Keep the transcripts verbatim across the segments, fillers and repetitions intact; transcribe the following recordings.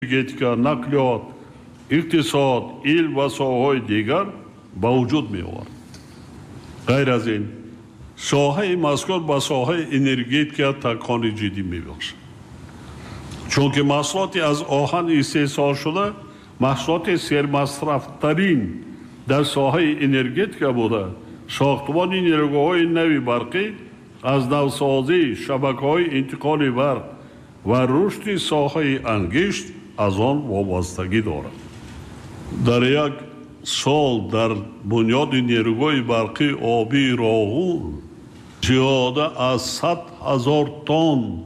Энергетика, нақлиёт, иқтисод, илм ва соҳаҳои дигар ба вуҷуд меовард. Ғайр аз ин, соҳаи мазкур ба соҳаи энергетика такони ҷиддӣ мебахшад, чунки маҳсулоти аз оҳан истеҳсолшуда маҳсулоти сермасрафтарин дар соҳаи энергетика буда, сохтмони нерӯгоҳҳои нави барқӣ, аз навсозии шабакаҳои интиқоли барқ ва рушди соҳаи ангишт аз он вобастагӣ дорад. Дар як сол дар бунёди нерӯгоҳи барқии обии Роғун зиёда аз сад ҳазор тонн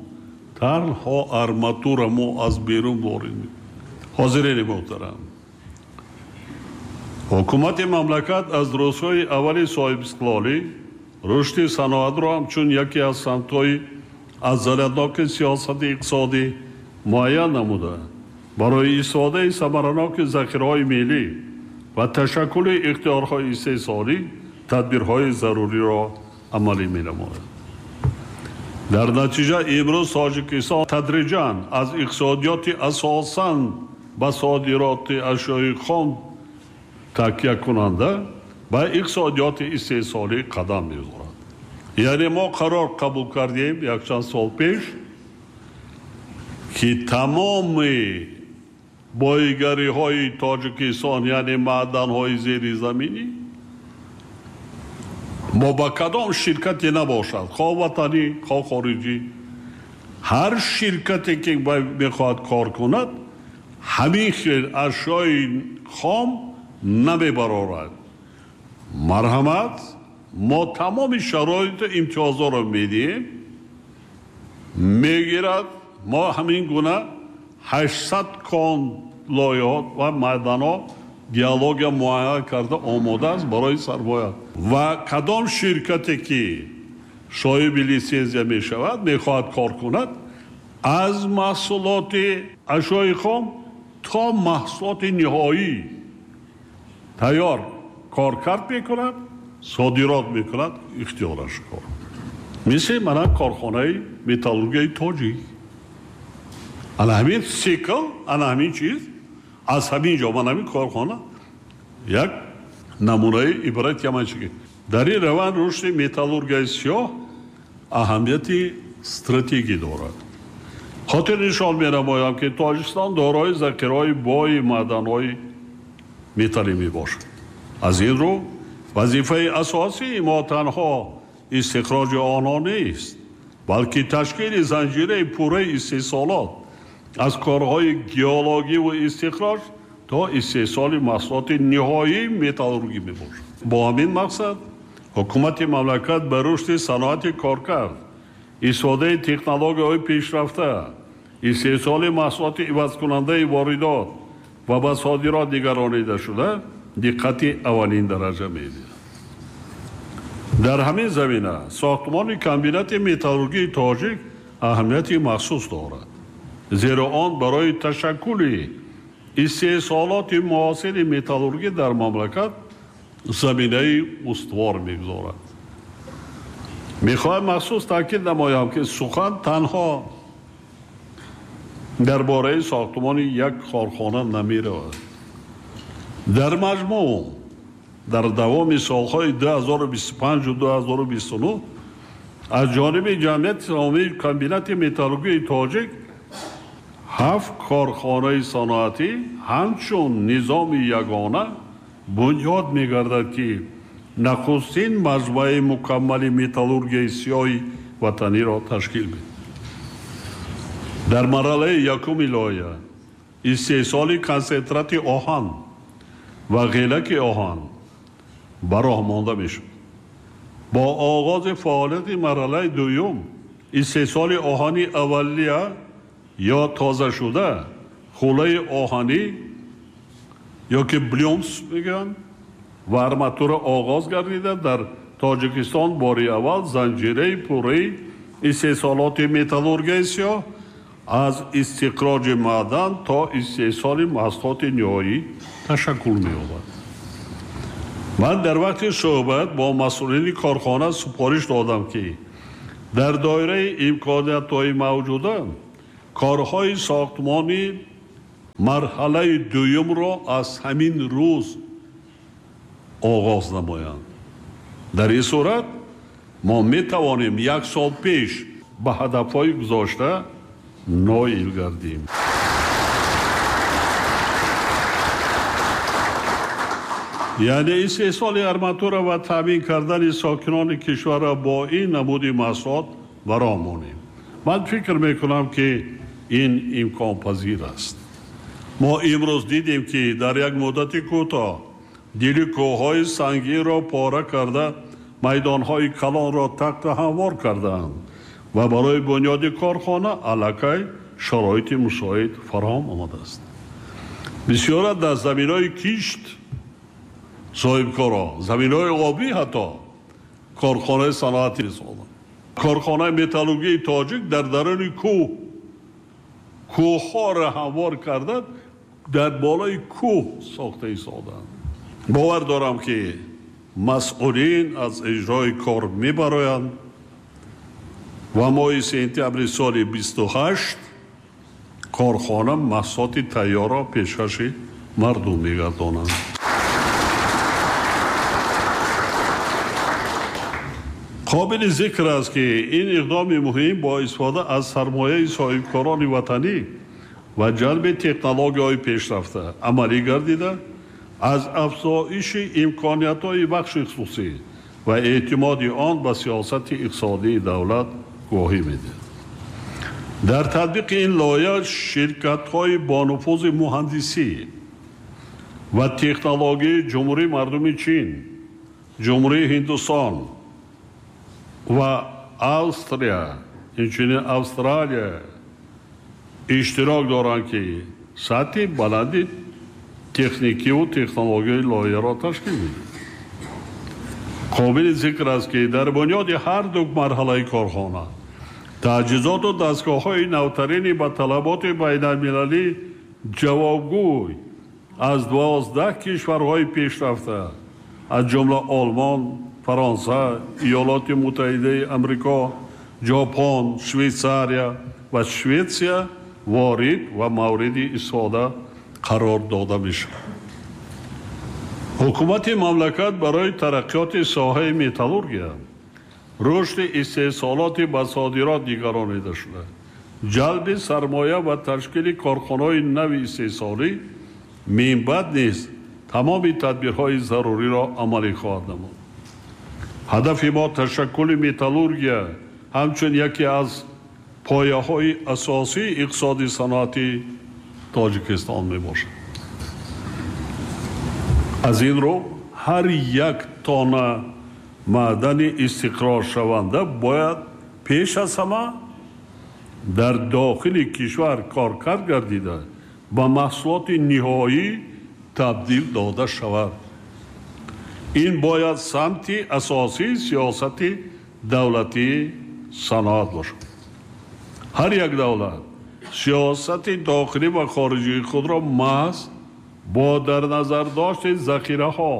танҳо арматура мо аз берун ворид мекунем. Ҳозирини муҳтарам, ҳукумати мамлакат аз рӯзҳои аввали соҳибистиқлолӣ рушди саноатро ҳамчун яке аз самтҳои афзалиятноки сиёсати иқтисодӣ муайян намуда, барои истифодаи самараноки захираҳои миллӣ ва ташаккули ихтиёрҳои истеҳсолӣ тадбирҳои заруриро амалӣ менамояд. Дар натиҷа имрӯз Тоҷикистон тадриҷан аз иқтисодиёти асосан ба содироти ашёи хом такякунанда ба иқтисодиёти истеҳсолӣ қадам мегузорад. Яъне мо қарор қабул кардем якчанд сол пеш, ки тамоми боигариҳои Тоҷикистон, яъне маъданҳои зеризаминӣ, мо ба кадом ширкате набошад, хоҳ ватанӣ, хоҳ хориҷӣ, ҳар ширкате ки мехоҳад кор кунад, ҳамин хел ашёи хом намебарорад. Марҳамат, мо тамоми шароиту имтиёзҳоро медиҳем, мегирад. Мо ҳамин гуна ҳаштсад кон лоиҳот ва маъданҳо геология муайян карда омода аст барои сармоя. Ва кадом ширкате ки соҳиби литсензия мешавад, мехоҳад кор кунад, аз маҳсулоти ашёи хом то маҳсулоти ниҳоӣ тайёр коркард мекунад, содирот мекунад, ихтиёраш кор. Мисли мана корхонаи металлургияи тоҷик. Ана ҳамин цикл, ана ҳамин чиз аз ҳамин ҷо, ман ҳамин корхона як намунаи ибрати ҳаман чи дар ин раванд рушди металлургияи сиёҳ аҳамияти стратегӣ дорад. Хотир нишон менамоям, ки Тоҷикистон дорои захираҳои бои маъданҳои металлӣ мебошад. Аз ин рӯ вазифаи асосии мо танҳо истихроҷи онҳо нест, балки ташкили занҷираи пурраи истеҳсолот аз корҳои геологӣ ва истихроҷ то истеҳсоли маҳсулоти ниҳоии металлургӣ мебошад. Бо ҳамин мақсад ҳукумати мамлакат ба рушди саноати коркард, истифодаи технологияҳои пешрафта, истеҳсоли маҳсулоти ивазкунандаи воридот ва ба содирот нигаронида шуда диққати аввалин дараҷа медиҳад. Дар ҳамин замина сохтмони комбинати металлургии тоҷик аҳамияти махсус дорад, зеро он барои ташаккули истеҳсолоти муосири металлургӣ дар мамлакат заминаи устувор мегузорад. Мехоҳам махсус таъкид намоям, ки сухан танҳо дар бораи сохтмони як корхона намеравад. Дар маҷмӯъ дар давоми солҳои ду ҳазору бисту панҷу ду ҳазору бисту нӯҳ аз ҷониби ҷамъияти саҳомии комбинати металлургии тоҷик ҳафт корхонаи саноатӣ ҳамчун низоми ягона бунёд мегардад, ки нахустин маҷмӯаи мукаммали металлургияи сиёҳи ватаниро ташкил медиҳад. Дар марҳалаи якуми лоиҳа истеҳсоли консентрати оҳан ва ғелаки оҳан ба роҳ монда мешуд. Бо оғози фаъолияти марҳалаи дуюм истеҳсоли оҳани аввалия ё тозашуда, хӯлаи оҳанӣ ё ки блюмс мегӯянд ва арматура оғоз гардида, дар Тоҷикистон бори аввал занҷираи пурраи истеҳсолоти металлургияи сиёҳ аз истихроҷи маъдан то истеҳсоли маҳсулоти ниҳоӣ ташаккул меёбад. Ман дар вақти суҳбат бо масъулини корхона супориш додам, ки дар доираи имкониятҳои мавҷуда корҳои сохтмонӣ Марҳалаи дуюмро аз ҳамин рӯз оғоз намоянд. Дар ин сурат мо метавонем як сол пеш ба ҳадафҳои гузошта ноил гардем. Яъне истеҳсоли арматура ва таъмин кардани сокинони кишварро бо ин намуди маҳсулот бароҳ монем. Ман фикр мекунам, ки ин имконпазир аст. Мо имрӯз дидем, ки дар як муддати кӯтоҳ дили кӯҳҳои сангинро пора карда, майдонҳои калонро тахта ҳамвор кардаанд ва барои бунёди корхона аллакай шароити мусоид фароҳам омадааст. Бисёра дар заминҳои кишт соҳибкоро, заминҳои обӣ ҳатто корхонаи саноатӣ сохтанд. Корхонаи металлургии тоҷик дар даруни кӯҳ кӯҳҳоро ҳамвор карда, дар болои кӯҳ сохта истоданд. Бовар дорам, ки масъулин аз иҷрои кор мебароянд ва моҳи сентябри соли бисту ҳашт корхона маҳсулоти тайёрро пешкаши мардум мегардонанд. Қобили зикр аст, ки ин иқдоми муҳим бо истифода аз сармояи соҳибкорони ватанӣ ва ҷалби технологияҳои пешрафта амалӣ гардида, аз афзоиши имкониятҳои бахши хусусӣ ва эътимоди он ба сиёсати иқтисодии давлат гувоҳӣ медиҳад. Дар татбиқи ин лоиҳа ширкатҳои бонуфузи муҳандисӣ ва технологияи Ҷумҳурии Мардуми Чин, Ҷумҳурии Ҳиндустон ва Австрия, инчунин Австралия иштирок доранд, ки сатҳи баланди техникиву технологияи лоиҳаро ташкил медиҳад. Қобили зикр аст, ки дар бунёди ҳар ду марҳалаи корхона таҷҳизоту дастгоҳҳои навтарини ба талаботи байналмилалӣ ҷавобгӯй аз дувоздаҳ кишварҳои пешрафта, аз ҷумла Олмон, Фаронса, Иёлоти Муттаҳидаи Амрико, Ҷопон, Швейтсария ва Шветсия ворид ва мавриди истифода қарор дода мешавад. Ҳукумати мамлакат барои тараққиёти соҳаи металлургия, рушди истеҳсолоти ба содирот нигаронида шуда, ҷалби сармоя ва ташкили корхонаҳои нави истеҳсолӣ минбаъд низ тамоми тадбирҳои заруриро амалӣ хоҳад намуд. Ҳадафи мо ташаккули металлургия ҳамчун яке аз пояҳои асосии иқтисоди саноатии Тоҷикистон мебошад. Аз ин рӯ ҳар як тонна маъдани истиқроршаванда бояд пеш аз ҳама дар дохили кишвар коркард гардида, ба маҳсулоти ниҳоӣ табдил дода шавад. Ин бояд самти асосии сиёсати давлатии саноат бошад. Ҳар як давлат сиёсати дохилӣ ва хориҷии худро маҳз бо дар назар дошти захираҳо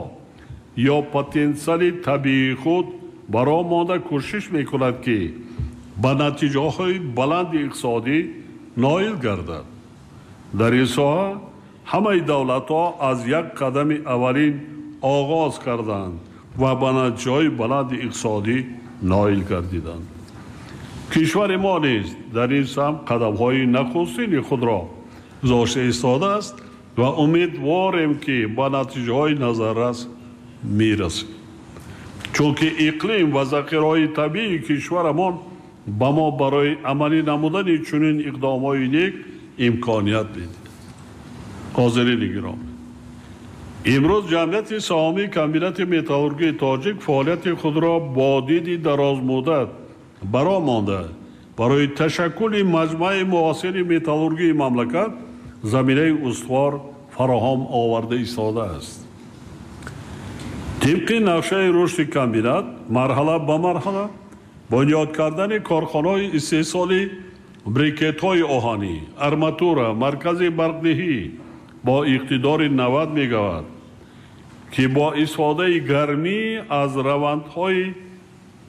ё потенсиали табиии худ бароҳ монда кӯшиш мекунад, ки ба натиҷаҳои баланди иқтисодӣ ноил гардад. Дар ин соҳа ҳамаи давлатҳо аз як қадами аввалин оғоз карданд ва ба натиҷаҳои баланди иқтисодӣ ноил гардиданд. Кишвари мо низ дар ин самт қадамҳои нахустини худро гузошта истодааст ва умедворем, ки ба натиҷаҳои назаррас мерасем. Чунки иқлим ва захираҳои табиии кишварамон ба мо барои амалӣ намудани чунин иқдомҳои нек имконият медиҳад. Ҳозирини гиромӣ, имрӯз ҷамъияти саҳомии комбинати металлургии тоҷик фаъолияти худро бо диди дарозмуддат бароҳ монда, барои ташаккули маҷмӯаи муосири металлургии мамлакат заминаи устувор фароҳам оварда истодааст. Тибқи нақшаи рушди комбинат марҳала ба марҳала бунёд кардани корхонаҳои истеҳсоли брикетҳои оҳанӣ, арматура, маркази барқдиҳӣ бо иқтидори навад мегаватт, ки бо истифодаи гармӣ аз равандҳои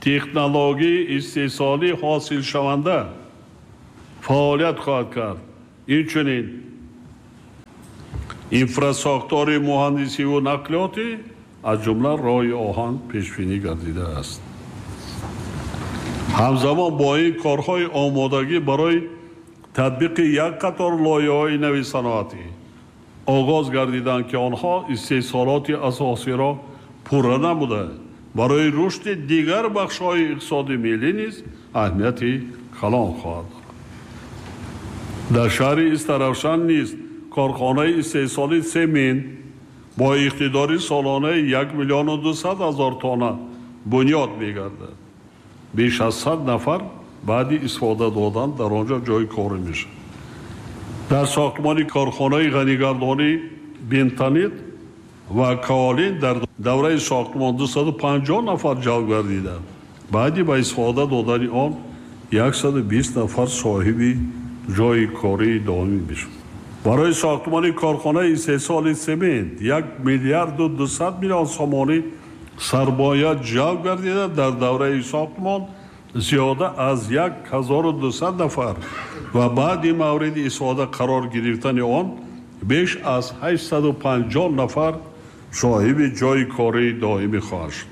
технологияи истеҳсолӣ ҳосилшаванда фаъолият хоҳад кард. Инчунин Инфрасохтори муҳандисиву нақлиётӣ аз ҷумла роҳи оҳан пешбинӣ гардидааст. Ҳамзамон бо ин корҳои омодагӣ барои татбиқи як қатор лоиҳаҳои нави саноатӣ оғоз гардиданд, ки онҳо истеҳсолоти асосиро пурра намуда барои рушди дигар бахшҳои иқтисоди миллӣ низ аҳамияти калон хоҳад дошт. Дар шаҳри Истаравшан низ корхонаи истеҳсоли семент бо иқтидори солонаи як миллиону дусад ҳазор тонна бунёд мегардад. Беш аз сад нафар баъди истифода додан дар он ҷо ҷойи корӣ мешавад. Дар сохтмони корхонаи ғанигардонии бентонит ва каолин дар давраи сохтмон дусаду панҷоҳ нафар ҷалб гардиданд. Баъди ба истифода додани он яксаду бист нафар соҳиби ҷойи кории доимӣ мешавад. Барои сохтмони корхонаи истеҳсоли семент як миллиарду дусад миллион сомонӣ сармоя ҷалб гардида, дар давраи сохтмон зиёда аз як ҳазору дусад нафар ва баъди мавриди истифода қарор гирифтани он беш аз ҳаштсаду панҷоҳ нафар соҳиби ҷойи кории доимӣ хоҳад шуд.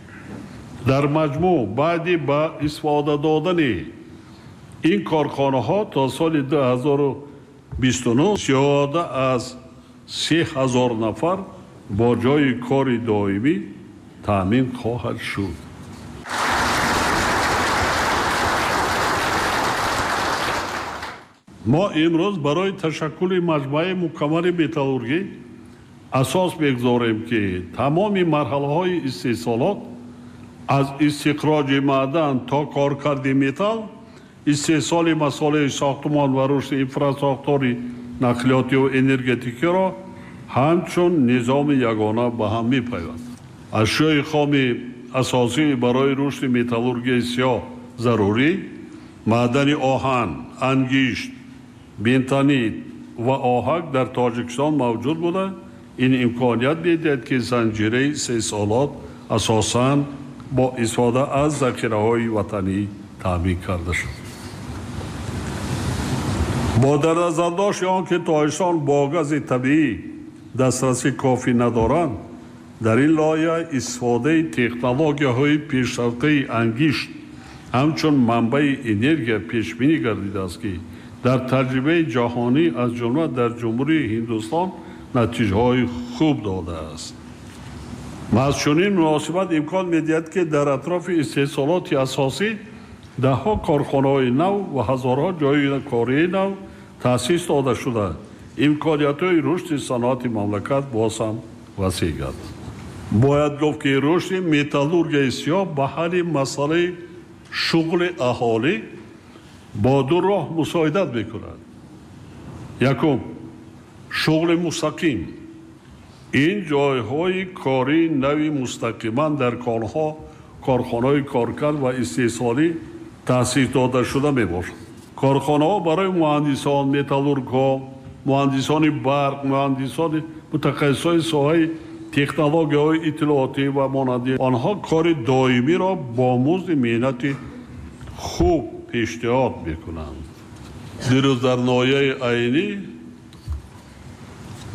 Дар маҷмӯъ баъди ба истифода додани ин корхонаҳо то соли ду ҳазору бисту нӯҳ зиёда аз се ҳазор нафар бо ҷойи кори доимӣ таъмин хоҳад шуд. Мо имрӯз барои ташаккули маҷмӯаи мукаммали металлургӣ асос мегузорем, ки тамоми марҳалаҳои истеҳсолот аз истихроҷи маъдан то коркарди металл, истеҳсоли масолеҳи сохтмон ва рушди инфрасохтори нақлиётиву энергетикиро ҳамчун низоми ягона ба ҳам мепайвандад. Ашёи хоми асосӣ барои рушди металлургияи сиёҳ зарурӣ маъдани оҳан, ангишт, бентонит ва оҳак дар Тоҷикистон мавҷуд буда, ин имконият медиҳад, ки занҷираи истеҳсолот асосан бо истифода аз захираҳои ватанӣ таъмин карда шуд. Бо дар назардошти он ки Тоҷикистон бо гази табиӣ дастрасӣ кофӣ надоранд, дар ин лоиҳа истифодаи технологияҳои пешрафтаи ангишт ҳамчун манбаи энергия пешбинӣ гардидааст, ки дар таҷрибаи ҷаҳонӣ аз ҷумла дар Ҷумҳурии Ҳиндустон натиҷаҳои хуб додааст. Маҳз чунин муносибат имкон медиҳад, ки дар атрофи истеҳсолоти асосӣ даҳҳо корхонаҳои нав ва ҳазорҳо ҷойи кории нав таъсис дода шуда, имкониятҳои рушди саноати мамлакат боз ҳам васеъ гардад. Бояд гуфт, ки рушди металлургияи сиёҳ ба ҳалли масъалаи шуғли аҳолӣ бо ду роҳ мусоидат мекунад. Якум, шуғли мустақим. Ин ҷойҳои кории нави мустақиман дар конҳо, корхонаҳои коркард ва истеҳсолӣ таъсис дода шуда мебошад. Корхонаҳо барои муҳандисон, металлургҳо, муҳандисони барқ, муҳандисони мутахассисони соҳаи технологияҳои иттилоотӣ ва монанди онҳо кори доимиро бо музди меҳнати хуб пешниҳод мекунанд. Дирӯз дар ноҳияи Айнӣ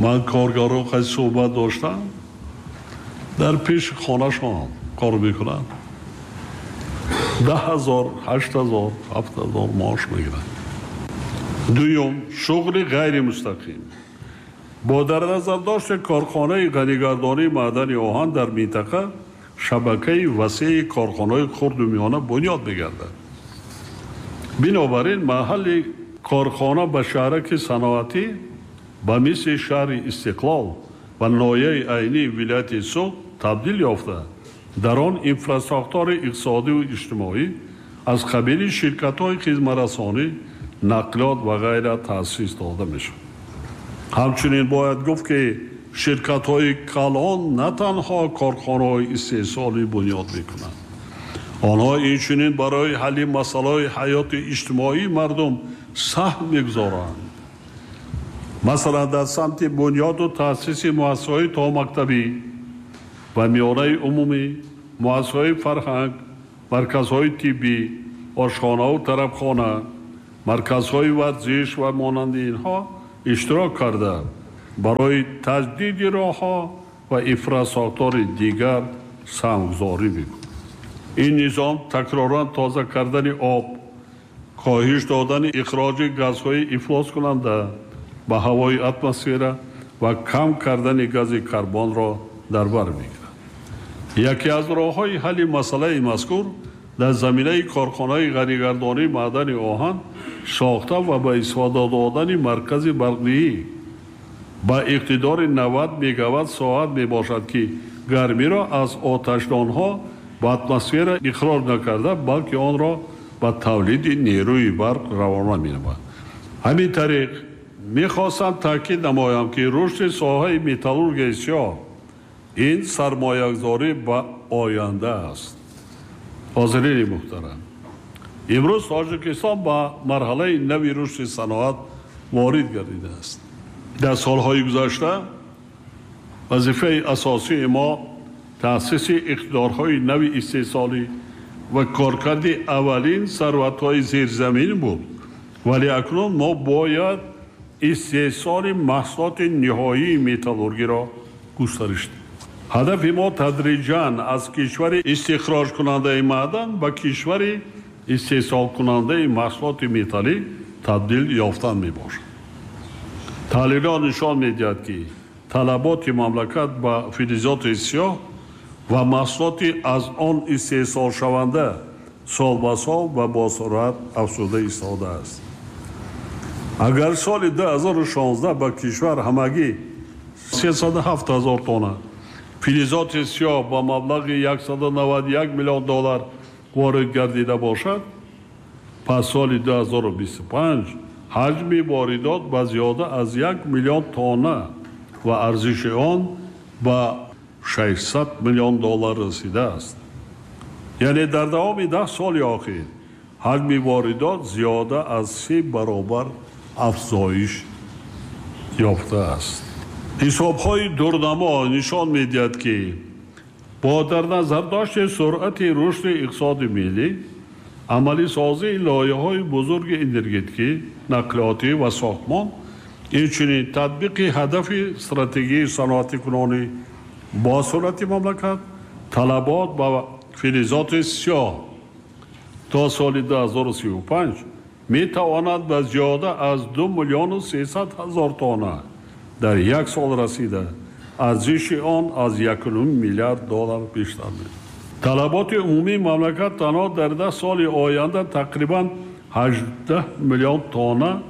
ман коргарон қайд суҳбат доштам, дар пеши хонашон кор мекунанд, даҳ ҳазор, ҳашт ҳазор, ҳафт ҳазор маош мегиранд. Дуюм, шуғли ғайримустақим. Бо дар назардошти корхонаи ғанигардонии маъдани оҳан дар минтақа шабакаи васеи корхонаҳои хурду миёна бунёд мегардад. Бинобар ин маҳалли корхона ба шаҳраки саноатӣ ба мисли шаҳри Истиқлол ва ноҳияи Айнии вилояти Суғд табдил ёфта, дар он инфрасохтори иқтисодиву иҷтимоӣ аз қабили ширкатҳои хизматрасонӣ, нақлиёт ва ғайра таъсис дода мешавад. Ҳамчунин бояд гуфт, ки ширкатҳои калон на танҳо корхонаҳои истеҳсолӣ бунёд мекунанд, онҳо инчунин барои ҳалли масъалаҳои ҳаёти иҷтимоии мардум саҳм мегузоранд. Масалан, дар самти бунёду таъсиси муассисаҳои томактабӣ ва миёнаи умумӣ, муассисаҳои фарҳанг, марказҳои тиббӣ, ошхонаву тарабхона, марказҳои варзиш ва монанди инҳо иштирок карда, барои таҷдиди роҳҳо ва инфрасохтори дигар саҳмгузорӣ мекунад. Ин низом такроран тоза кардани об, коҳиш додани ихроҷи газҳои ифлоскунанда ба ҳавои атмосфера ва кам кардани гази карбонро дар бар мегирад. Яке аз роҳҳои ҳалли масъалаи мазкур дар заминаи корхонаи ғанигардонии маъдани оҳан сохта ва ба истифода додани маркази барқдиҳӣ ба иқтидори навад мегаватт соат мебошад, ки гармиро аз оташдонҳо ба атмосфера ихроҷ накарда, балки онро ба тавлиди нерӯи барқ равона менамояд. Ҳамин тариқ мехостам таъкид намоям, ки рушди соҳаи металлургияи сиёҳ ин сармоягузорӣ ба оянда аст. Ҳозирини муҳтарам, имрӯз Тоҷикистон ба марҳалаи нави рушди саноат ворид гардидааст. Дар солҳои гузашта вазифаи асосии мо таъсиси иқтидорҳои нави истеҳсолӣ ва коркарди аввалин сарватҳои зерзамин буд, вале акнун мо бояд истеҳсоли маҳсулоти ниҳоии металлургиро густариш диҳем. Ҳадафи мо тадриҷан аз кишвари истихроҷкунандаи маъдан ба кишвари истеҳсолкунандаи маҳсулоти металлӣ табдил ёфтан мебошад. Таҳлилҳо нишон медиҳад, ки талаботи мамлакат ба филизоти сиёҳ ва маҳсулоти аз он истеҳсолшаванда сол ба сол ва бо суръат афзуда истодааст. Агар соли ду ҳазору шонздаҳ ба кишвар ҳамагӣ сесаду ҳафт ҳазор тонна филизоти сиёҳ ба маблағи яксаду наваду як миллион доллар ворид гардида бошад, пас соли ду ҳазору бисту панҷ ҳаҷми воридот ба зиёда аз як миллион тонна ва арзиши он ба шашсад миллион доллар расидааст. Яъне дар давоми даҳ соли охир ҳаҷми воридот зиёда аз се баробар афзоиш ёфтааст. Ҳисобҳои дурнамо нишон медиҳад, ки бо дар назардошти суръати рушди иқтисоди миллӣ, амалисозии лоиҳаҳои бузурги энергетикӣ, нақлиётӣ ва сохтмон, инчунин татбиқи ҳадафи стратегияи саноатикунонӣ бо суръати мамлакат, талабот ба филизоти сиёҳ то соли ду ҳазору сию панҷ метавонад ба зиёда аз ду миллиону сесад ҳазор тонна дар як сол расида, арзиши он аз якуним миллиард доллар бештар мешавад. Талаботи умумии мамлакат танҳо дар даҳ соли оянда тақрибан ҳаждаҳ миллион тонна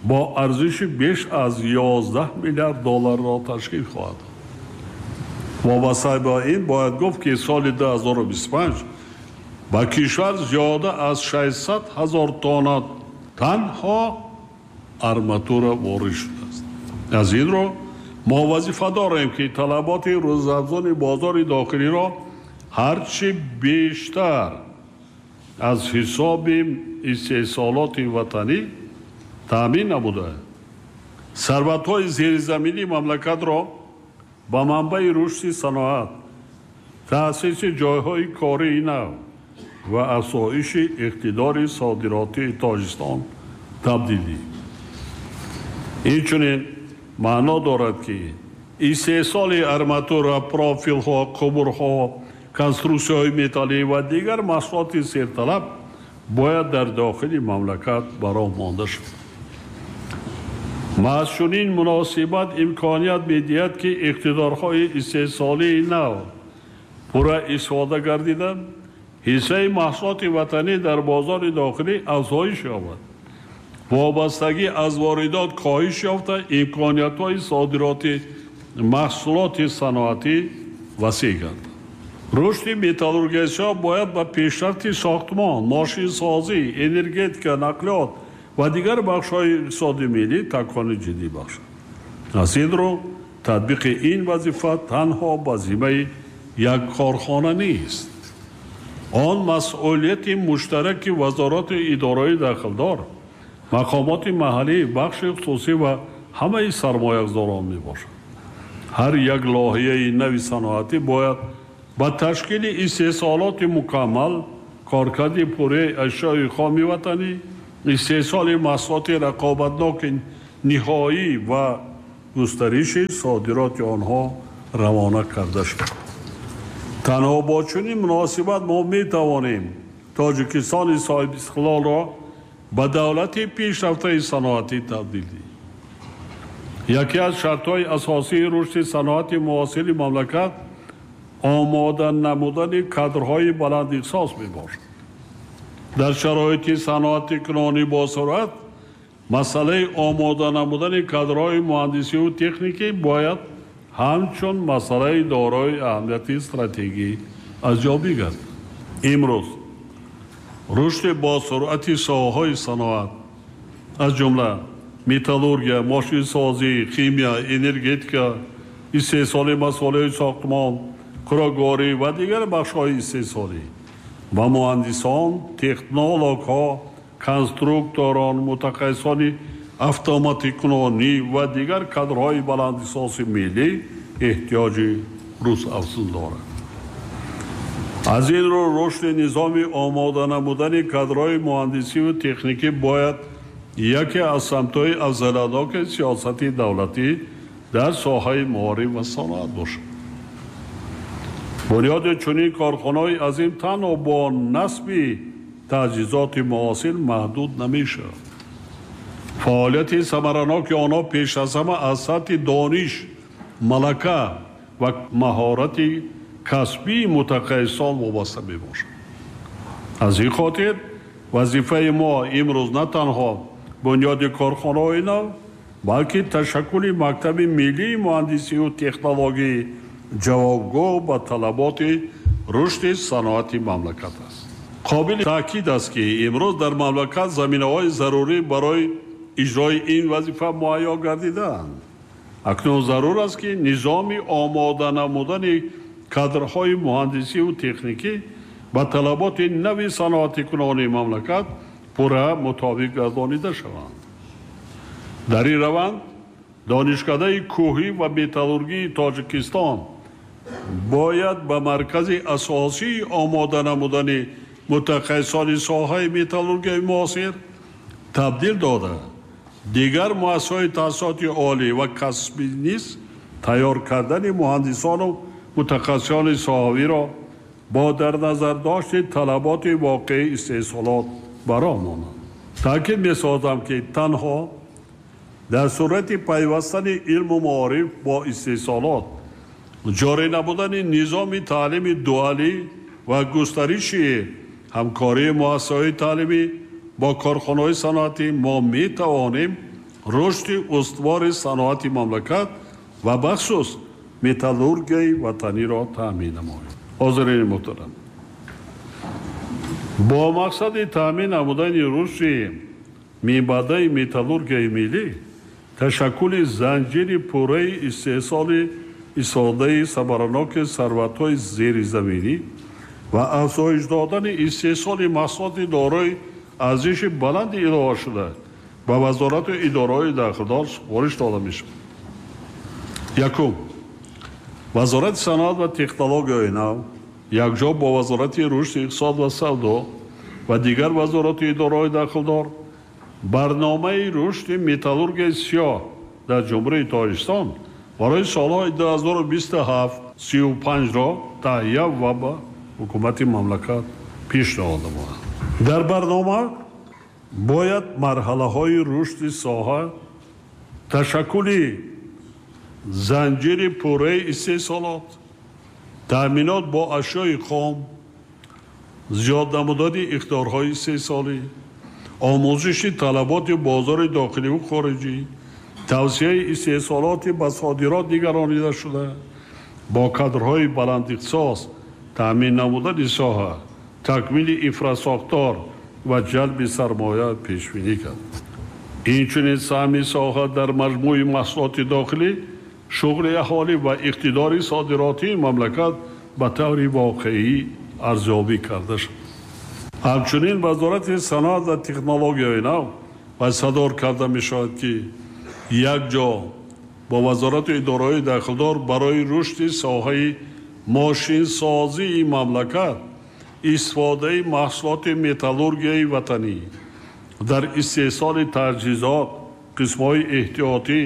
бо арзиши беш аз ёздаҳ миллиард долларро ташкил хоҳад дод. Вобаста ба ин бояд гуфт, ки соли ду ҳазору бисту панҷ ба кишвар зиёда аз шашсад ҳазор тонна танҳо арматура ворид шудааст. Аз ин рӯ мо вазифа дорем, ки талаботи рӯзафзони бозори дохилиро ҳарчи бештар аз ҳисоби истеҳсолоти ватанӣ таъмин намуда, сарватҳои зеризаминии мамлакатро ба манбаи рушди саноат, таъсиси ҷойҳои кории нав ва афзоиши иқтидори содиротии Тоҷикистон табдил диҳем. Инчунин маъно дорад, ки истеҳсоли арматура, профилҳо, қубурҳо, конструксияҳои металлӣ ва дигар маҳсулоти серталаб бояд дар дохили мамлакат ба роҳ монда шавад. Маҳз чунин муносибат имконият медиҳад, ки иқтидорҳои истеҳсолии нав пурра истифода гардида, ҳиссаи маҳсулоти ватанӣ дар бозори дохилӣ афзоиш ёбад, вобастагӣ аз воридот коҳиш ёфта, имкониятҳои содироти маҳсулоти саноатӣ васеъ гардад. Рушди металлургияи сиёҳ бояд ба пешрафти сохтмон, мошинсозӣ, энергетика, нақлиёт ва дигар бахшҳои иқтисоди миллӣ такони ҷиддӣ бахшад. Аз ин рӯ татбиқи ин вазифа танҳо ба зиммаи як корхона нест. Он масъулияти муштараки вазорати идораҳои дахлдор, мақомоти маҳаллӣ, бахши хусусӣ ва ҳамаи сармоягузорон мебошад. Ҳар як лоиҳаи нави саноатӣ бояд ба ташкили истеҳсолоти мукаммал, коркарди пурраи ашёи хоми ватанӣ, истеҳсоли маҳсулоти рақобатноки ниҳоӣ ва густариши содироти онҳо равона карда шуд. Танҳо бо чунин муносибат мо метавонем Тоҷикистони соҳибистиқлолро ба давлати пешрафтаи саноатӣ табдил диҳем. Яке аз шартҳои асосии рушди саноати муосири мамлакат омода намудани кадрҳои баландихтисос мебошад. Дар шароити саноати кунонӣ босуръат масъалаи омода намудани кадрҳои муҳандисиву техникӣ бояд ҳамчун масъалаи дорои аҳамияти стратегӣ аз ҷо бигардад. Имрӯз рушди босуръати соҳаҳои саноат, аз ҷумла металлургия, мошинсозӣ, химия, энергетика, истеҳсоли масолеҳи сохтмон, хӯрокворӣ ва дигар бахшҳои истеҳсолӣ ва муҳандисон, технологҳо, конструкторон, мутахассисони автоматикунонӣ ва дигар кадрҳои баландихтисоси миллӣ эҳтиёҷи рӯзафзун дорад. Аз ин рӯ рушди низоми омода намудани кадрҳои муҳандисиву техникӣ бояд яке аз самтҳои афзалиятноки сиёсати давлатӣ дар соҳаи маориф ва саноат бошад. Бунёди чунин корхонаҳои азим танҳо бо насби таҷҳизоти муосир маҳдуд намешавад. Фаъолияти самараноки онҳо пеш аз ҳама аз сатҳи дониш, малака ва маҳорати касбии мутахассисон вобаста мебошад. Аз ин хотир вазифаи мо имрӯз на танҳо бунёди корхонаҳои нав, балки ташаккули мактаби миллии муҳандисиву технологии ҷавобгӯ ба талаботи рушди саноати мамлакат аст. Қобили таъкид аст, ки имрӯз дар мамлакат заминаҳои зарурӣ барои иҷрои ин вазифа муҳайё гардидаанд. Акнун зарур аст, ки низоми омода намудани кадрҳои муҳандисиву техникӣ ба талаботи нави саноатикунонии мамлакат пурра мутобиқ гардонида шаванд. Дар ин раванд донишкадаи кӯҳӣ ва металлургии Тоҷикистон бояд ба маркази асосии омода намудани мутахассисони соҳаи металлургияи муосир табдил дода, дигар муассисаҳои таҳсилоти олӣ ва касбӣ низ тайёр кардани муҳандисону мутахассисони соҳавиро бо дар назардошти талаботи воқеии истеҳсолот ба роҳ монанд. Таъкид месозам, ки танҳо дар сурати пайвастани илму маориф бо истеҳсолот, ҷорӣ намудани низоми таълими дуалӣ ва густариши ҳамкории муассисаҳои таълимӣ бо корхонаҳои саноатӣ мо метавонем рушди устувори саноати мамлакат ва бахусус металлургияи ватаниро таъмин намоем. Ҳозирини муҳтарам, бо мақсади таъмин намудани рушди минбаъдаи металлургияи миллӣ, ташаккули занҷири пурраи истеҳсоли истифодаи самараноки сарватҳои зеризаминӣ ва афзоиш додани истеҳсоли маҳсулоти дорои арзиши баланди иловашуда ба вазорату идораҳои дахлдор супориш дода мешавад. Якум, Вазорати саноат ва технологияҳои нав якҷо бо Вазорати рушди иқтисод ва савдо ва дигар вазорату идораҳои дахлдор барномаи рушди металлургияи сиёҳ дар Ҷумҳурии Тоҷикистон барои солҳои ду ҳазору бисту ҳафт сию панҷро таҳия ва ба ҳукумати мамлакат пешниҳод намояд. Дар барнома бояд марҳалаҳои рушди соҳа, ташаккули занҷири пурраи истеҳсолот, таъминот бо ашёи хом, зиёд намудани иқтидорҳои истеҳсолӣ, омӯзиши талаботи бозори дохиливу хориҷӣ, тавсияи истеҳсолоти ба содирот нигаронида шуда, бо кадрҳои баландихтисос таъмин намудани соҳа, такмили инфрасохтор ва ҷалби сармоя пешбинӣ кард. Инчунин саҳми соҳа дар маҷмӯи маҳсулоти дохилӣ, шуғли аҳолӣ ва иқтидори содиротии мамлакат ба таври воқеӣ арзёбӣ карда шуд. Ҳамчунин Вазорати саноат ва технологияи нав вазифадор карда мешавад, ки якҷо бо вазорату идораҳои дахлдор барои рушди соҳаи мошинсозии мамлакат истифодаи маҳсулоти металлургияи ватанӣ дар истеҳсоли таҷҳизот, қисмҳои эҳтиётӣ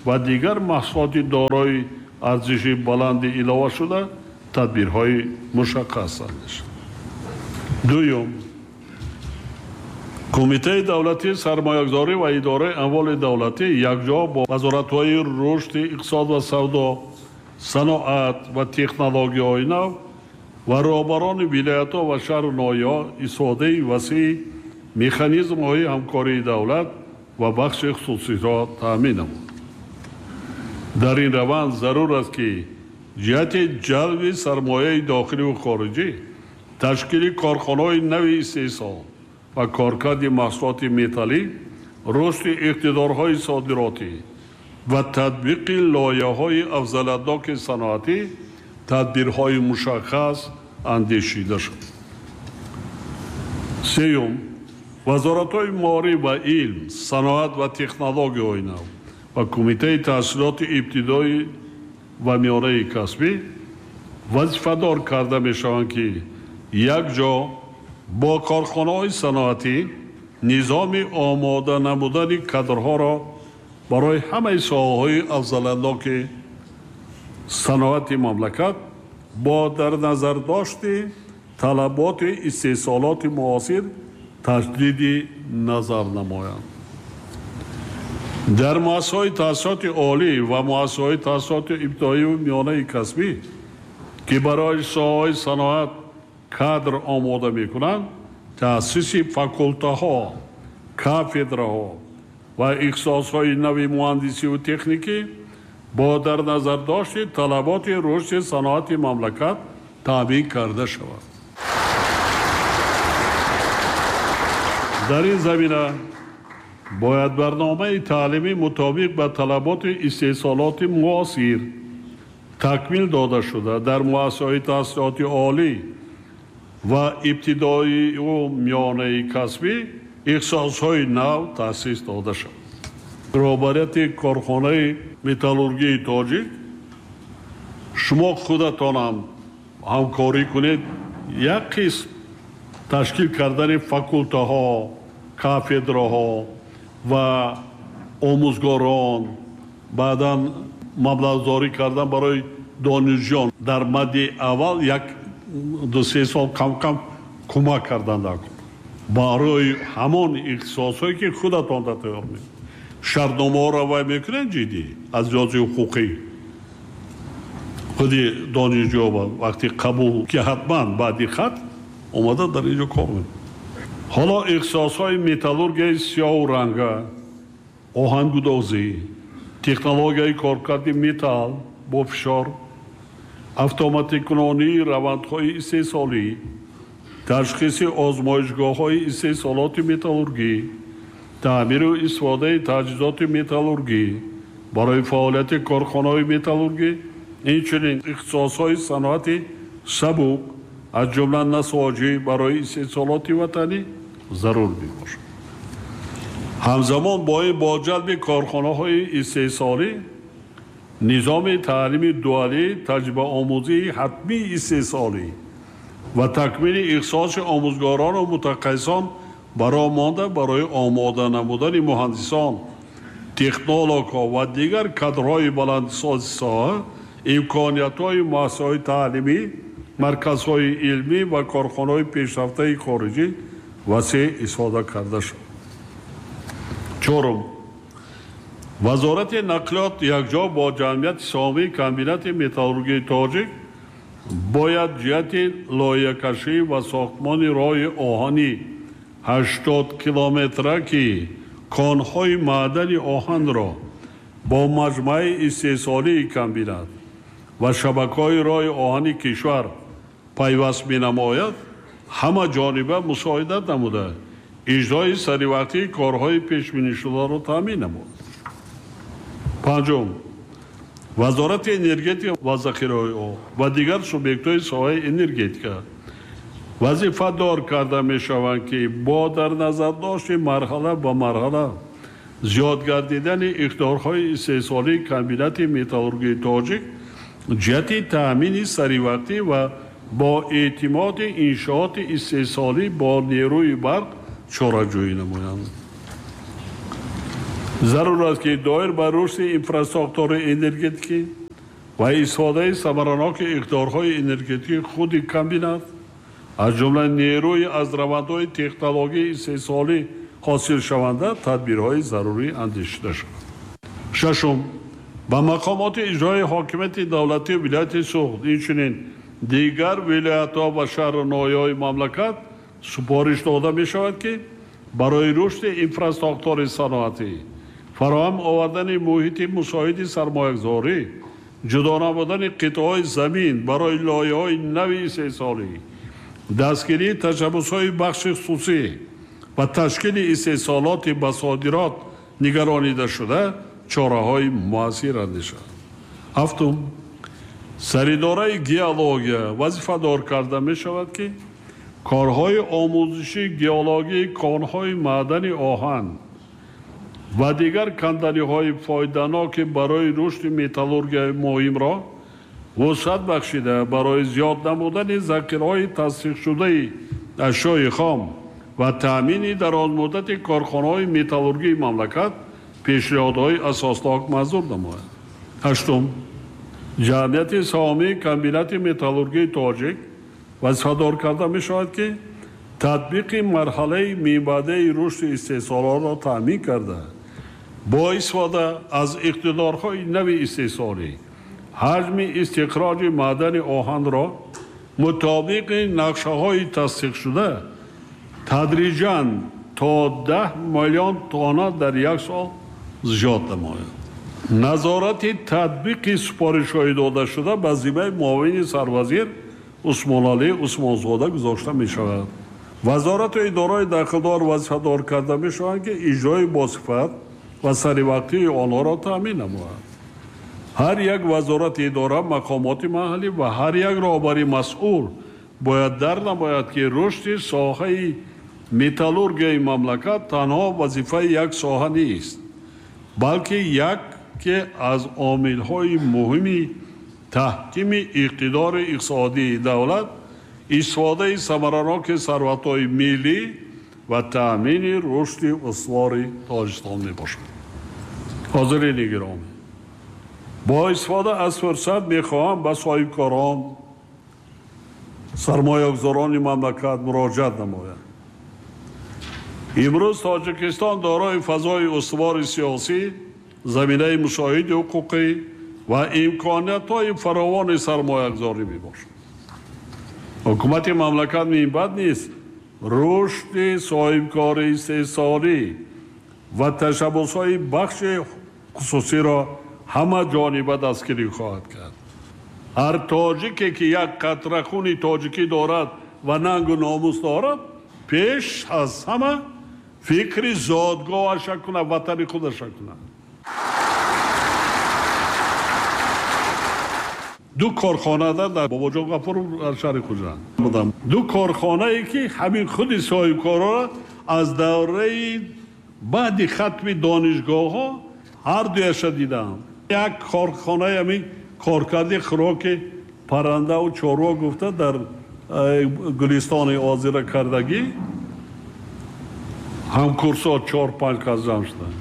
ва дигар маҳсулоти дорои арзиши баланди иловашуда тадбирҳои мушаххас андешид. Дуюм, Кумитаи давлатии сармоягузорӣ ва идораи амволи давлатӣ якҷо бо вазоратҳои рушди иқтисод ва савдо, саноат ва технологияҳои нав ва роҳбарони вилоятҳо ва шаҳру ноҳияҳо истифодаи васеи механизмҳои ҳамкории давлат ва бахши хусусиро таъмин намуд. Дар ин раванд зарур аст, ки ҷиҳати ҷалби сармояи дохиливу хориҷӣ, ташкили корхонаҳои нави истеҳсол ва коркарди маҳсулоти металлӣ, рушди иқтидорҳои содиротӣ ва татбиқи лоиҳаҳои афзалиятноки саноатӣ тадбирҳои мушаххас андешида шуд. Сеюм, вазоратҳои маориф ва илм, саноат ва технологияҳои нав ва Кумитаи таҳсилоти ибтидоӣ ва миёнаи касбӣ вазифадор карда мешаванд, ки якҷо бо корхонаҳои саноатӣ низоми омода намудани кадрҳоро барои ҳамаи соҳаҳои афзалиятноки саноати мамлакат бо дар назардошти талаботи истеҳсолоти муосир таҷдиди назар намоянд. Дар муассисаҳои таҳсилоти олӣ ва муассисаҳои таҳсилоти ибтидоию миёнаи касбӣ, ки барои соҳаҳои саноат кадр омода мекунанд, таъсиси факултаҳо, кафедраҳо ва ихтисосҳои нави муҳандисиву техникӣ бо дар назардошти талаботи рушди саноати мамлакат таъмин карда шавад. Дар ин замина бояд барномаи таълимӣ мутобиқ ба талаботи истеҳсолоти муосир такмил дода шуда дар муассисаҳои таҳсилоти олӣ ва ибтидоию миёнаи касбӣ ихтисосҳои нав таъсис дода шавад. Роҳбарияти корхонаи металлургияи тоҷик, шумо худатонам ҳамкорӣ кунед, як қисм ташкил кардани факултаҳо, кафедраҳо ва омӯзгорон, баъдан маблағгузорӣ кардан барои донишҷӯён дар мадди аввал як ду се сол кам-кам кӯмак кардан дар барои ҳамон ихтисосҳое ки худатон тайёр мекунед. Шартномаҳоро вай мекунед ҷиддӣ аз лиҳози ҳуқуқӣ. Худи донишҷӯ вақти қабул ки ҳатман баъди хат омада дар инҷо кор мекунад. Ҳоло ихтисосҳои металлургияи сиёҳу ранга, оҳангудозӣ, технологияи коркарди металл бо фишор, автоматикунонии равандҳои истеҳсолӣ, ташхиси озмоишгоҳҳои истеҳсолоти металлургӣ, таъмиру истифодаи таҷҳизоти металлургӣ барои фаъолияти корхонаҳои металлургӣ, инчунин ихтисосҳои саноати сабук аз ҷумла насоҷӣ барои истеҳсолоти ватанӣ зарур мебошад. Ҳамзамон бо ин бо ҷалби корхонаҳои истеҳсолӣ низоми таълими дуалӣ, таҷрибаомӯзии ҳатмии истеҳсолӣ ва такмили ихтисоси омӯзгорону мутахассисон бароҳ монда барои омода намудани муҳандисон, технологҳо ва дигар кадрҳои баландисози соҳа, имкониятҳои муассисаҳои таълимӣ, марказҳои илмӣ ва корхонаҳои пешрафтаи хориҷӣ васеъ истифода карда шуд. Чорум, Вазорати нақлиёт якҷо бо ҷамъияти саҳомии комбинати металлургияи тоҷик бояд ҷиҳати лоиҳакашӣ ва сохтмони роҳи оҳани ҳаштод километра, ки конҳои маъдани оҳанро бо маҷмӯаи истеҳсолии комбинат ва шабакаҳои роҳи оҳани кишвар пайваст менамояд, ҳама ҷониба мусоидат намуда иҷрои саривақтии корҳои пешбинишударо таъмин намуд. Панҷум, Вазорати энергетика ва захираҳои об ва дигар субъектҳои соҳаи энергетика вазифадор карда мешаванд, ки бо дар назардошти марҳала ба марҳала зиёд гардидани иқтидорҳои истеҳсолии комбинати металлургияи тоҷик ҷиҳати таъмини саривақтӣ ва бо эътимоди иншооти истеҳсолӣ бо нерӯи барқ чораҷӯӣ намоянд. Зарур аст, ки доир ба рушди инфрасохтори энергетикӣ ва истифодаи самараноки иқтидорҳои энергетикии худи комбинат, аз ҷумла нерӯи аз равандҳои технологияи истеҳсолӣ ҳосилшаванда, тадбирҳои зарурӣ андешида шавад. Шашум, ба мақомоти иҷроии ҳокимияти давлатии вилояти Суғд, инчунин дигар вилоятҳо ва шаҳру ноҳияҳои мамлакат супориш дода мешавад, ки барои рушди инфрасохтори саноатӣ, фароҳам овардани муҳити мусоиди сармоягузорӣ, ҷудо намудани қитъаҳои замин барои лоиҳаҳои нави истеҳсолӣ, дастгирии ташаббусҳои бахши хусусӣ ва ташкили истеҳсолоти ба содирот нигаронида шуда чораҳои муассир андешад. Ҳафтум, саридораи геология вазифадор карда мешавад, ки корҳои омӯзиши геологии конҳои маъдани оҳан ва дигар канданиҳои фоиданоки барои рушди металлургияи муҳимро вусъат бахшида, барои зиёд намудани захираҳои тасдиқшудаи ашёи хом ва таъмини дарозмуддати корхонаҳои металлургии мамлакат пешниҳодҳои асоснок манзур намояд. Ҳаштум, ҷамъияти саҳомии комбинати металлургии тоҷик вазифадор карда мешавад, ки татбиқи марҳалаи минбаъдаи рушди истеҳсолотро таъмин карда, бо истифода аз иқтидорҳои нави истеҳсолӣ ҳаҷми истихроҷи маъдани оҳанро мутобиқи нақшаҳои тасдиқшуда тадриҷан то даҳ миллион тонна дар як сол зиёд намояд. Назорати татбиқи супоришҳои додашуда ба зиммаи муовини сарвазир Усмоналӣ Усмонзода гузошта мешавад. Вазорату идораҳои дахлдор вазифадор карда мешаванд, ки иҷрои босифат ва саривақтии онҳоро таъмин намояд. Ҳар як вазорати идора, мақомоти маҳаллӣ ва ҳар як роҳбари масъул бояд дар намояд, ки рушди соҳаи металлургияи мамлакат танҳо вазифаи як соҳа нест, балки яке аз омилҳои муҳими таҳкими иқтидори иқтисодии давлат, истифодаи самараноки сарватҳои миллӣ ва таъмини рушди устувори Тоҷикистон мебошад. Ҳозирини гиромӣ, бо истифода аз фурсат мехоҳам ба соҳибкорон, сармоягузорони мамлакат муроҷиат намоям. Имрӯз Тоҷикистон дорои фазои устувори сиёсӣ, заминаи мусоиди ҳуқуқӣ ва имкониятҳои фаровони сармоягузорӣ мебошад. Ҳукумати мамлакат минбаъд низ рушди соҳибкори истеҳсолӣ ва ташаббусҳои бахши хусусиро ҳама ҷониба дастгирӣ хоҳад кард. Ҳар тоҷике ки як қатра хуни тоҷикӣ дорад ва нангу номус дорад, пеш аз ҳама фикри зодгоҳаша кунад, ватани худаша кунад. Ду корхонада дар Бобоҷон Ғафуров дар шаҳри Хуҷанд будам. Ду корхонае ки ҳамин худи соҳибкорро аз давраи баъди хатми донишгоҳҳо ҳар дуяша дидам. Як корхонаи ҳамин коркарди хӯроки паррандаву чорво гуфта дар Гулистони озира кардагӣ, ҳамкурсо чор панҷ кас ҷамъ шуданд.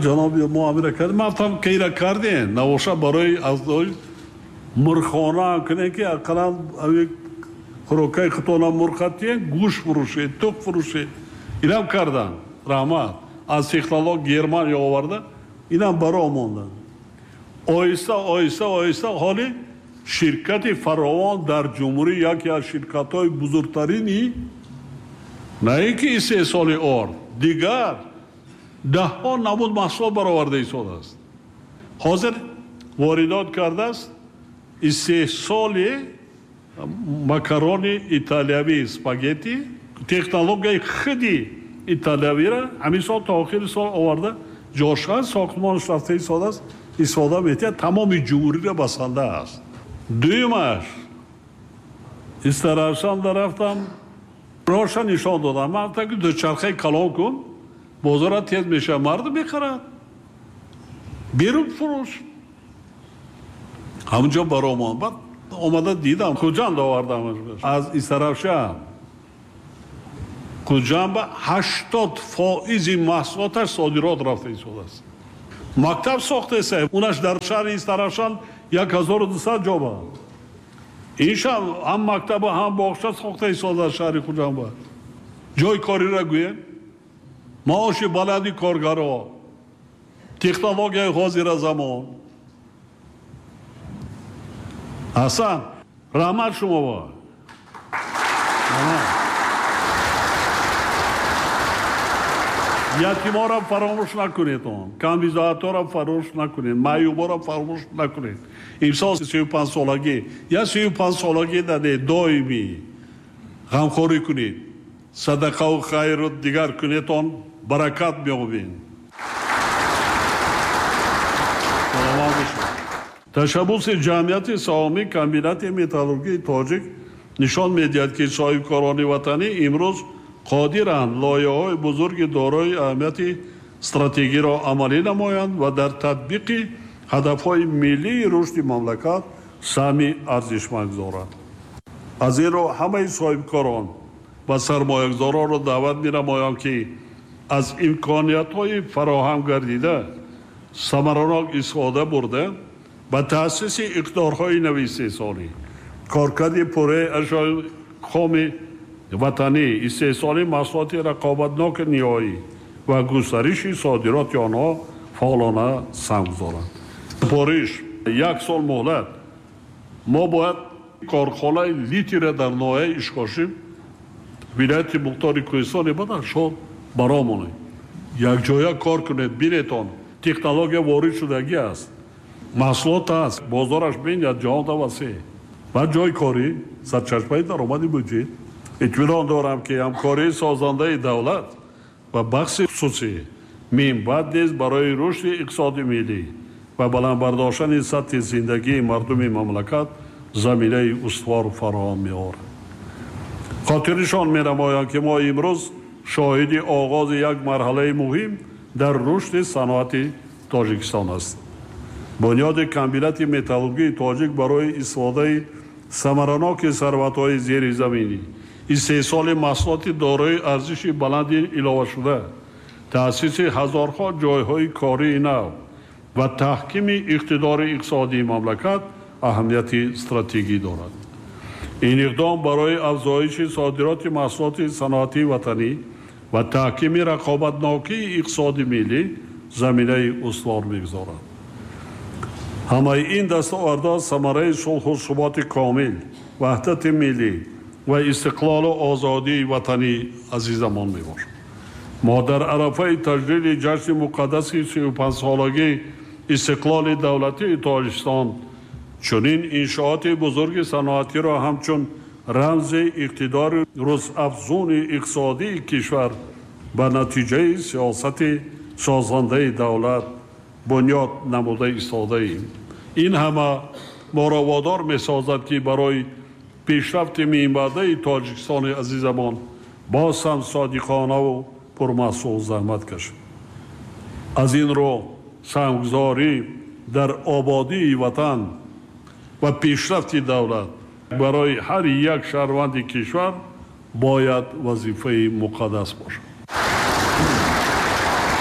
Ҷаноби мо амира кардем, ман гуфтам кейра кардем, навоша барои аз мурғхона ҳам кунем, ки ақаллан хӯрокаи худтона мурға тиен, гӯшт фурӯшед, тух фурӯшед. Инам карданд, раҳмат. Аз технолог Германия оварда, инам баро монданд. Оҳиста оҳиста оҳиста ҳоли ширкати фаровон дар ҷумҳурӣ яке аз ширкатҳои бузургтарини на ин ки истеҳсоли орд, дигар даҳҳо намуд маҳсулот бароварда истодааст. Ҳозир воридот кардааст истеҳсоли макарони италиявӣ, спагетти, технологияи худи италиявиро ҳамин сол то охири сол оварда ҷошқа сохтмонаш рафта истодааст, истифода метиҳад, тамоми ҷумҳуриро басанда аст. Дуюмаш, Истаравшанда рафтам, роҳша нишон додам. Ман гуфтам ки дучархаи калон кун, бозора тез мешавад, мардум мехарад, берун фурӯш. Ҳамунҷо баромон. Баъд омада дидам, Хуҷанд овардам аз Истаравшан. Хуҷанд ҳаштод фоизи маҳсулоташ содирот рафта истодааст. Мактаб сохтеса, унаш дар шаҳри Истаравшан як ҳазору дусад ҷоба. Инша ҳам мактаба, ҳам боғча сохта истодааст шаҳри Хуҷанд. Ҷои кориро гӯем, маоши баланди коргаро, технологияи ҳозира замон. Ҳасан, раҳмат шумо. Ятиморо фаромӯш накунед, он камбизоатҳоро фаромӯш накунед, маъюборо фаромӯш накунед. Имсол сию панҷ солагӣ, я сию панҷ солагӣ наде, доимӣ ғамхорӣ кунед, садақаву хайру дигар кунед, он баракат меёбед. Саломат бошед. Ташаббуси ҷамъияти саҳомии комбинати металлургии тоҷик нишон медиҳад, ки соҳибкорони ватанӣ имрӯз қодиранд лоиҳаҳои бузурги дорои аҳамияти стратегиро амалӣ намоянд ва дар татбиқи ҳадафҳои миллии рушди мамлакат саҳми арзишманд гузоранд. Аз ин рӯ ҳамаи соҳибкорон ва сармоягузоронро даъват менамоям, ки аз имкониятҳои фароҳам гардида самаранок истифода бурда ба таъсиси иқтидорҳои нави истеҳсолӣ, коркарди пурраи ашёи хоми ватанӣ, истеҳсоли маҳсулоти рақобатноки ниҳоӣ ва густариши содироти онҳо фаъолона саҳм гузоранд. Супориш як сол муҳлат. Мо бояд корхонаи литира дар ноҳияи Ишкошим, вилояти Мухтори Кӯҳистони Бадахшон баромонем. Якҷоя кор кунед, бинетон, технология ворид шудагӣ аст, маҳсулот аст, бозораш бинад, ҷаҳонда васеъ ва ҷои корӣ, сарчашмаи даромади буҷет. Итминон дорам, ки ҳамкории созандаи давлат ва бахши хусусӣ минбаъд низ барои рушди иқтисоди миллӣ ва баланд бардоштани сатҳи зиндагии мардуми мамлакат заминаи устувор фароҳам меорад. Хотирнишон менамоям, ки мо имрӯз шоҳиди оғози як марҳалаи муҳим дар рушди саноати Тоҷикистон ҳастем. Бунёди комбинати металлургии тоҷик барои истифодаи самараноки сарватҳои зеризаминӣ, истеҳсоли маҳсулоти дорои арзиши баланди иловашуда, таъсиси ҳазорҳо ҷойҳои кории нав ва таҳкими иқтидори иқтисодии мамлакат аҳамияти стратегӣ дорад. Ин иқдом барои афзоиши содироти маҳсулоти саноатии ватанӣ ва таҳкими рақобатнокии иқтисоди миллӣ заминаи устувор мегузорад. Ҳамаи ин дастовардҳо самараи сулҳу суботи комил, ваҳдати миллӣ ва истиқлолу озодии ватании азизамон мебошад. Мо дар арафаи таҷлили ҷашни муқаддаси сию панҷсолагии истиқлоли давлатии Тоҷикистон чунин иншооти бузурги саноатиро ҳамчун рамзи иқтидори рӯзафзуни иқтисодии кишвар ба натиҷаи сиёсати созандаи давлат бунёд намуда истодаем. Ин ҳама моро водор месозад, ки барои пешрафти минбаъдаи Тоҷикистони азизамон боз ҳам содиқонаву пурмаҳсул заҳмат кашем. Аз ин рӯ саҳмгузорӣ дар ободии ватан ва пешрафти давлат барои ҳар як шаҳрванди кишвар бояд вазифаи муқаддас бошад.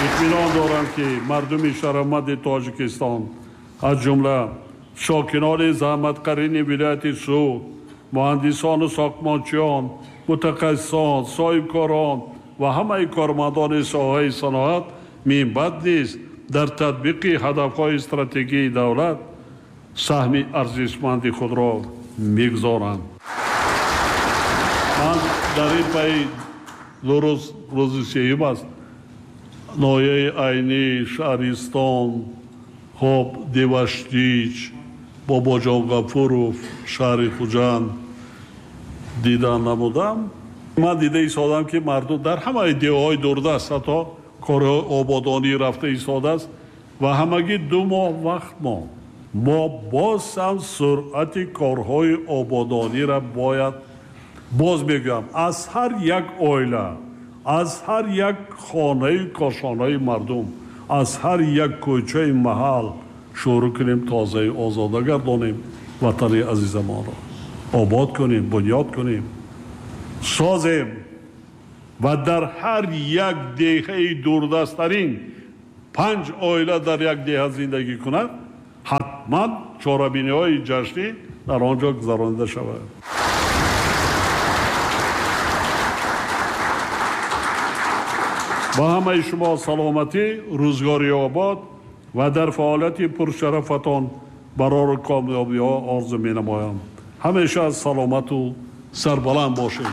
Итминон дорам, ки мардуми шарафманди Тоҷикистон, аз ҷумла сокинони заҳматқарини вилояти Суғд, муҳандисону сохтмончиён, мутахассисон, соҳибкорон ва ҳамаи кормандони соҳаи саноат минбаъд низ дар татбиқи ҳадафҳои стратегии давлат саҳми арзишманди худро мегузоранд. Ман дар ин пай ду рӯз, рӯзи сеюм аст, ноҳияи Айнӣ, Шаҳристон, хоб Деваштич, Бобоҷон Ғафуров, шаҳри Хуҷанд дидан намудам. Ман дида истодам, ки мардум дар ҳамаи деҳаҳои дурдаст ҳатто корҳои ободонӣ рафта истодааст ва ҳамагӣ ду моҳ вақт монд. Мо боз ҳам суръати корҳои ободониро бояд, боз мегӯям, аз ҳар як оила, аз ҳар як хонаи кошонаи мардум, аз ҳар як кӯчаи маҳал шурӯъ кунем, тозаи озода гардонем ватани азизамонро, обод кунем, бунёд кунем, созем. Ва дар ҳар як деҳаи дурдасттарин панҷ оила дар як деҳа зиндагӣ кунад, ҳатман чорабиниҳои ҷашнӣ дар он ҷо гузаронида шавад. Ба ҳамаи шумо саломатӣ, рӯзгори обод ва дар фаъолияти пуршарафатон барору комёбиҳо орзу менамоям. Ҳамеша саломату сарбаланд бошед.